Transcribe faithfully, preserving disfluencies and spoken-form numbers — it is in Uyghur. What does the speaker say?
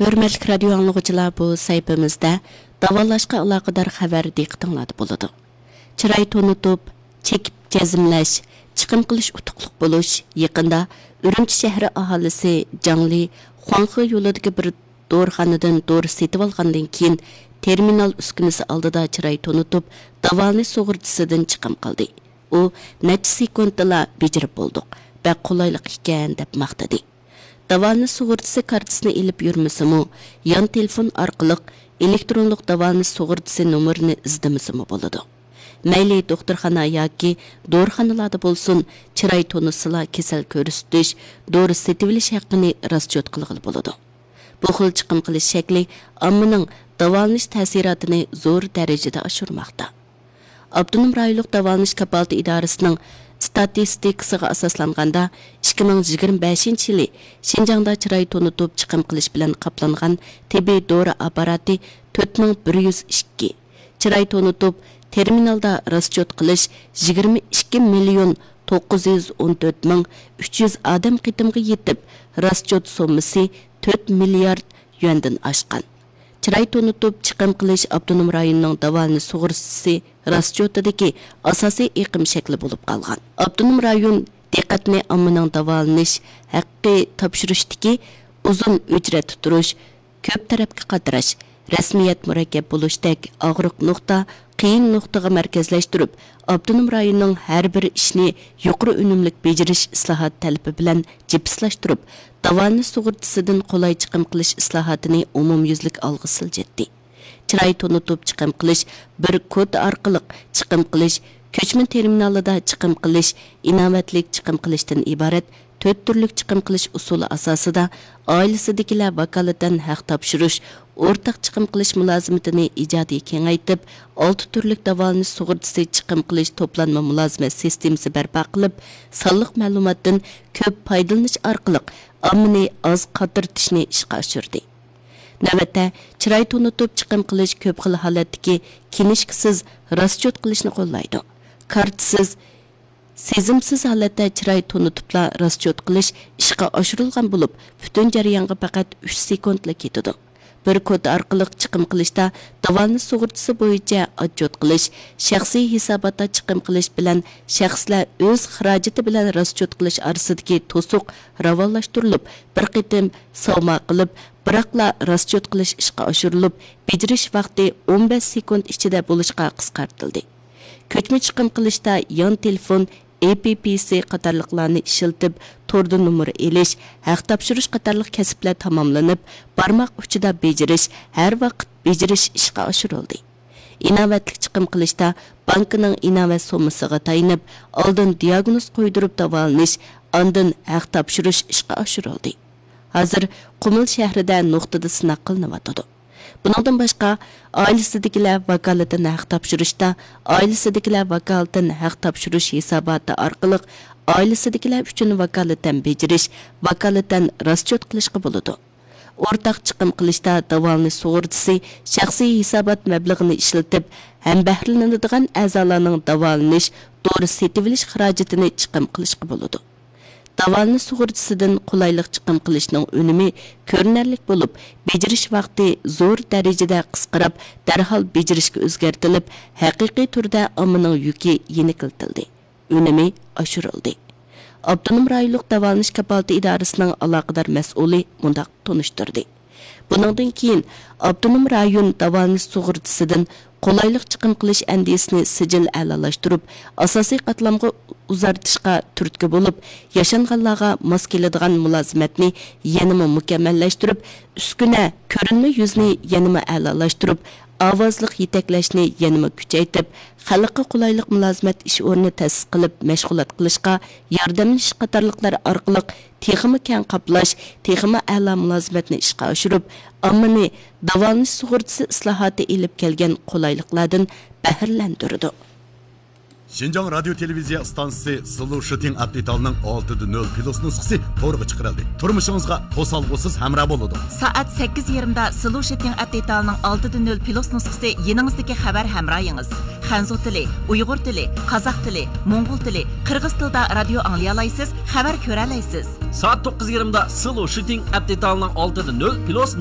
ھۆرمەتلىك رادىيو ئاڭلىغۇچىلار، بۇ سەھىپىمىزدە داۋالاشقا ئالاقىدار خەۋەر دىققىتىڭلاردا بولىدۇ. چىراي تونۇتۇپ، چېكىپ جەزملەش، چىقىم قىلىش ئۇتۇقلۇق بولۇش يېقىندا ئۈرۈمچى شەھىرى ئاھالىسى جاڭلى خۇاڭخې يولىدىكى بىر دورىخانىدىن دورا سېتىۋالغاندىن كېيىن، تېرمىنال ئۈسكۈنىسى ئالدىدا چىراي تونۇتۇپ، داۋالىنىش سۇغۇرتىسىدىن چىقىم قىلدى. ئۇ نەچچە سېكۇنتتىلا بېجىرىپ بولدۇق، بەك قولايلىق ئىكەن، دەپ ماختىدى. داۋالىنىش سۇغۇرتىسى كارتىسىنى ئېلىپ يۈرمىسىمۇ، يان تېلېفون ئارقىلىق ئېلېكترونلۇق داۋالىنىش سۇغۇرتىسى نومۇرىنى ئىزدىمىسىمۇ بولىدۇ. مەيلى دوختۇرخانا ياكى دورىخانىلاردا بولسۇن، چىراي تونۇتسىلا كېسەل كۆرسىتىش، دورا سېتىۋېلىش ھەققىنى راسچوت قىلغىلى بولىدۇ. بۇ خىل چىقىم قىلىش شەكلى ئاممىنىڭ داۋالىنىش تەسىراتىنى زور دەرىجىدە ئاشۇرماقتا. ئاپتونوم رايونلۇق داۋالىنىش كاپالىتى ئىدارىسىنىڭ ئىستاتىستىكىسىغا ئاساسلانغاندا، ئىككى مىڭ يىگىرمە بەشىنچى يىلى شىنجاڭدا چىراي تونۇتۇپ چىقىم قىلىش بىلەن قاپلانغان تېببىي دورا ئاپپاراتى تۆت مىڭ بىر يۈز ئىككى، چىراي تونۇتۇپ تېرمىنالدا راسچوت قىلىش يىگىرمە ئىككى مىليون توققۇز يۈز ئون تۆت مىڭ ئۈچ يۈز ئادەم قېتىمغا يېتىپ، راسچوت سوممىسى تۆت مىليارد يۈەندىن ئاشقان. چىراي تونۇتۇپ چىقىم قىلىش ئاپتونوم رايوننىڭ داۋالىنىش سۇغۇرتىسى راسچوتىدىكى ئاساسىي ئېقىم شەكلى بولۇپ قالغان. ئاپتونوم رايون دىققەتنى ئاممىنىڭ داۋالىنىش ھەققى تاپشۇرۇشتىكى ئۇزۇن ئۆچرەتتە تۇرۇش، كۆپ تەرەپكە قاتراش، رەسمىيەت مۇرەككەپ بولۇشتەك ئاغرىق نۇقتا، قىيىن نۇقتىغا مەركەزلەشتۈرۈپ، ئاپتونوم رايوننىڭ ھەر بىر ئىشنى يۇقىرى ئۈنۈملۈك بېجىرىش ئىسلاھات تەلىپى بىلەن جىپسلاشتۇرۇپ، داۋالىنىش سۇغۇرتىسىدىن قولاي چىقىم قىلىش ئىسلاھاتىنى ئومۇميۈزلۈك ئالغا سىلجىتتى. چىراي تونۇتۇپ چىقىم قىلىش بىر كودا ئارقىلىق چىقىم قىلىش، كۆچمە تېرمىنالىدا چىقىم قىلىش، ئىناۋەتلىك چىقىم قىلىشتىن ئىبارەت تۆت تۈرلۈك چىقىم قىلىش ئۇسۇلى ئاساسىدا، ئائىلىسىدىكىلەر ۋاكالىتەن ھەق تاپشۇرۇش، ئورتاق چىقىم قىلىش مۇلازىمىتىنى ئىجادىي كېڭەيتىپ، ئالتە تۈرلۈك داۋالىنىش سۇغۇرتىسى چىقىم قىلىش توپلانما مۇلازىمەت سىستېمىسى بەرپا قىلىپ، سانلىق مەلۇماتتىن كۆپ پايدىلىنىش ئارقىلىق ئاممىنى ئاز قاترىتىشنى ئىشقا ئاشۇردى. نۆۋەتتە، چىراي تونۇتۇپ چىقىم قىلىش كۆپ خىل ھالەتتىكى كىنىشكىسىز راسچوت قىلىشنى قوللايدۇ. كارتىسىز، سېزىمسىز ھالەتتە چىراي تونۇتۇپلا راسچوت قىلىش ئىشقا ئاشۇرۇلغان بولۇپ، پۈتۈن جەريانغا پەقەت ئۈچ سېكۇنتلا كېتىدۇ. بىر كودا ئارقىلىق چىقىم قىلىشتا داۋالىنىش سۇغۇرتىسى بويىچە ئاتچوت قىلىش، شەخسىي ھېساباتتا چىقىم قىلىش بىلەن شەخسلەر ئۆز خىراجىتى بىلەن راسچوت قىلىش ئارىسىدىكى توسۇق راۋانلاشتۇرۇلۇپ، بىر قېتىم ساۋما قىلىپ، بىراقلا راسچوت قىلىش ئىشقا ئاشۇرۇلۇپ، بېجىرىش ۋاقتى ئون بەش سېكۇنت ئىچىدە بولۇشقا قىسقارتىلدى. كۆچمە چىقىم قىلىشتا يان تېلېفون، ئېپپىسى قاتارلىقلارنى ئىشلىتىپ، توردا نومۇر ئېلىش، ھەق تاپشۇرۇش قاتارلىق كەسىپلەر تاماملىنىپ، بارماق ئۇچىدا بېجىرىش، ھەر ۋاقىت بېجىرىش ئىشقا ئاشۇرۇلدى. ئىناۋەتلىك چىقىم قىلىشتا بانكىنىڭ ئىناۋەت سوممىسىغا تايىنىپ، ئالدىن دىئاگنوز قويدۇرۇپ داۋالىنىش، ئاندىن ھەق تاپشۇرۇش ئىشقا ئاشۇرۇلدى. ھازىر قۇمۇل شەھىرىدە نۇقتىدا سىناق قىلىنىۋاتىدۇ. بۇنىڭدىن باشقا، ئائىلىسىدىكىلەر ۋاكالىتەن ھەق تاپشۇرۇشتا، ئائىلىسىدىكىلەر ۋاكالىتەن ھەق تاپشۇرۇش ھېساباتى ئارقىلىق ئائىلىسىدىكىلەر ئۈچۈن ۋاكالىتەن بېجىرىش، ۋاكالىتەن راسچوت قىلىشقا بولىدۇ. ئورتاق چىقىم قىلىشتا داۋالىنىش سۇغۇرتىسى شەخسىي ھېسابات مەبلىغىنى ئىشلىتىپ، ھەمبەھرىلىنىدىغان ئەزالارنىڭ داۋالىنىش، دورا سېتىۋېلىش خىراجىتىنى چىقىم قىلىشقا بولىدۇ. داۋالىنىش سۇغۇرتىسىدىن قولايلىق چىقىم قىلىشنىڭ ئۈنۈمى كۆرۈنەرلىك بولۇپ، بېجىرىش ۋاقتى زور دەرىجىدە قىسقىراپ، دەرھال بېجىرىشكە ئۆزگەرتىلىپ، ھەقىقىي تۈردە ئاممىنىڭ يۈكى يېنىكلىتىلدى، ئۈنۈمى ئاشۇرۇلدى. ئاپتونوم رايونلۇق داۋالىنىش كاپالىتى ئىدارىسىنىڭ ئالاقىدار مەسئۇلى مۇنداق تونۇشتۇردى. بۇنىڭدىن كېيىن ئاپتونوم رايون داۋالىنىش سۇغۇرتىسىدىن قولايلىق چىقىم قىلىش ئەندىزىسىنى سىجىل ئەلالاشتۇرۇپ، ئاساسىي قاتلامغا ئۇزارتىشقا تۈرتكە بولۇپ، ياشانغانلارغا ماس كېلىدىغان مۇلازىمەتنى يەنىمۇ مۇكەممەللەشتۈرۈپ، ئۈسكۈنە، كۆرۈنمە يۈزنى يەنىمۇ ئەلالاشتۇرۇپ، ئاۋازلىق يېتەكلەشنى يەنىمۇ كۈچەيتىپ، خەلققە قولايلىق مۇلازىمەت ئىش ئورنى تەسىس قىلىپ، مەشغۇلات قىلىشقا ياردەملىشىش قاتارلىقلار ئارقىلىق تېخىمۇ كەڭ قاپلاش، تېخىمۇ ئەلا مۇلازىمەتنى ئىشقا ئاشۇرۇپ، ئاممىنى داۋالىنىش سۇغۇرتىسى ئىسلاھاتى ئېلىپ كەلگەن قولايلىقلاردىن بەھرىلەندۈرىدۇ. شىنجاڭ رادىيو تېلېۋىزىيە ئىستانسىسى سلو شىتىڭ ئەپ دېتالىنىڭ ئالتىدە نۆل پلۇس نۇسخىسى تورغا چىقىرىلدى. تۇرمۇشىڭىزغا توسالغۇسىز ھەمراھ بولىدۇ. سائەت سەككىز يېرىمدا سلو شىتىڭ ئەپ دېتالىنىڭ ئالتىدە نۆل پلۇس نۇسخىسى يېنىڭىزدىكى خەۋەر ھەمراھىڭىز. خەنزۇ تىلى، ئۇيغۇر تىلى، قازاق تىلى، موڭغۇل تىلى، قىرغىز تىلىدا رادىيو ئاڭلىيالايسىز، خەۋەر كۆرەلەيسىز. سائەت توققۇز يېرىمدا سلو شىتىڭ ئەپ دېتالىنىڭ ئالتىدە نۆل پلۇس